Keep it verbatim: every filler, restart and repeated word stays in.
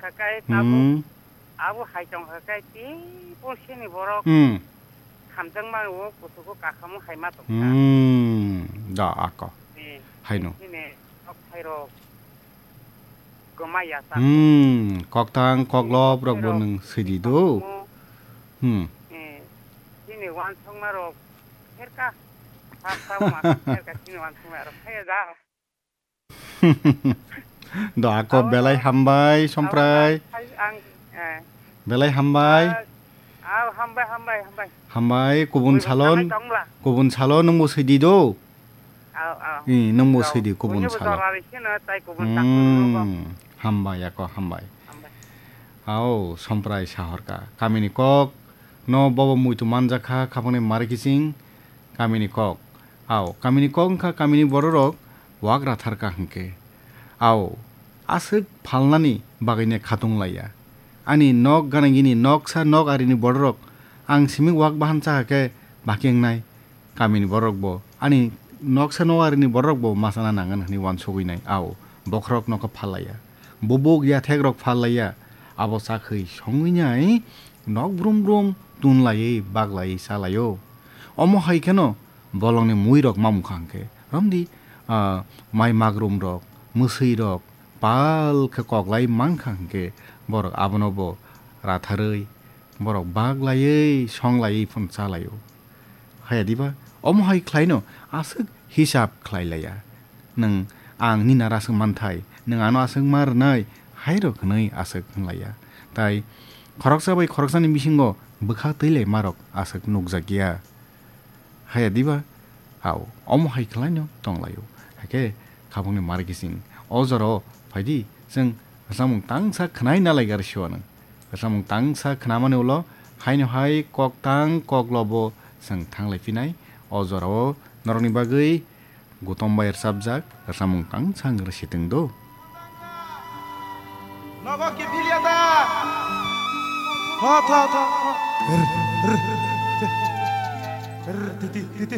kha kai tabuk. Hmm. Abo hai tong kha kai tei pulsini borok Hmm. hamjakma o kuchugo kakhamo hai ma tong kha. Hmm. Da ako. Eh, Haino. Chini kok thairok goma ya sa. Hmm. Koktang koklop rok bo Thairok nwng sidi do. Mo, Hmm. eh, chini wansongma rok pherka. Sa sa ma pherka chini wansongma rok phaya da. Do ako Abo belai no hambai, abo Somprai. Ang, eh. Belai hambai. Ah, ah, hambai, hambai, hambai. Hambai, kubun Bui salon, hambai tongla. Kubun salon nungbo sidi do. Au, au. I, nungbo Au. Sidi kubun Buini bo salon. Jora ri sino, tai kubun tak nungbo. Hmm, hambai ako, hambai. Hambai. Au, Somprai sahorka. Kamini kok, no bobo muitu manjakha, khapangni mari kiching. Kamini kok. Ao, kamini kok wngkha kamini bororok wagra tharkha hwnkhe. Ao, aswk phalnani bagwino khatung laiya. Ani nok gana gini noksa nok arini bororok ang simi wak bahan chakha khe baki wngnai. Kamini bororokbo ani noksa nok arini bororokbo ma chana nangan hwnwi uansugwi nai. Ao, bokhorok nokha phal laiya. Bubuk yathekrok phal laiya. Abo chakhwi songwi nai nok brum brum tun laiwi bak laiwi cha laio. Omo hai kheno bolongni muirok mamukha hwnkhe, romdi, ah, mai magrumrok, mwswirok pal khe koklai mankha hwnkhe, borok abono bo ratharwi, borok bak laiwi, song laiwi phano cha laio. Haya diba? Omo hai khlaino aswk hisab khlai laiya. Nwng ang nini aro aswk manthai, nwng ano aswk ma rwnai, hairok hwnwi aswk hwnlaiya. Tai khoroksa bai khoroksani bisingo bwkha twi lai marok aswk nukjakya. Haya diba? Ao, omo hai khlaino tonglaio. Hakhe khabangni mari kiching. O jorao phaidi, chwng rwchapmung tangsa khwnai nalai gari siwanw. Rwchapmung tangsa khwnamani ulo haino hai kok tang kok lobo chwng thanglai phinai. O jorao norokni bagwi Gutom bai rwchapjak rwchapmung tangsa wng rwsitwng do. Nogo kiphilya da? Tho, tho, tho, tho. Titi, titi.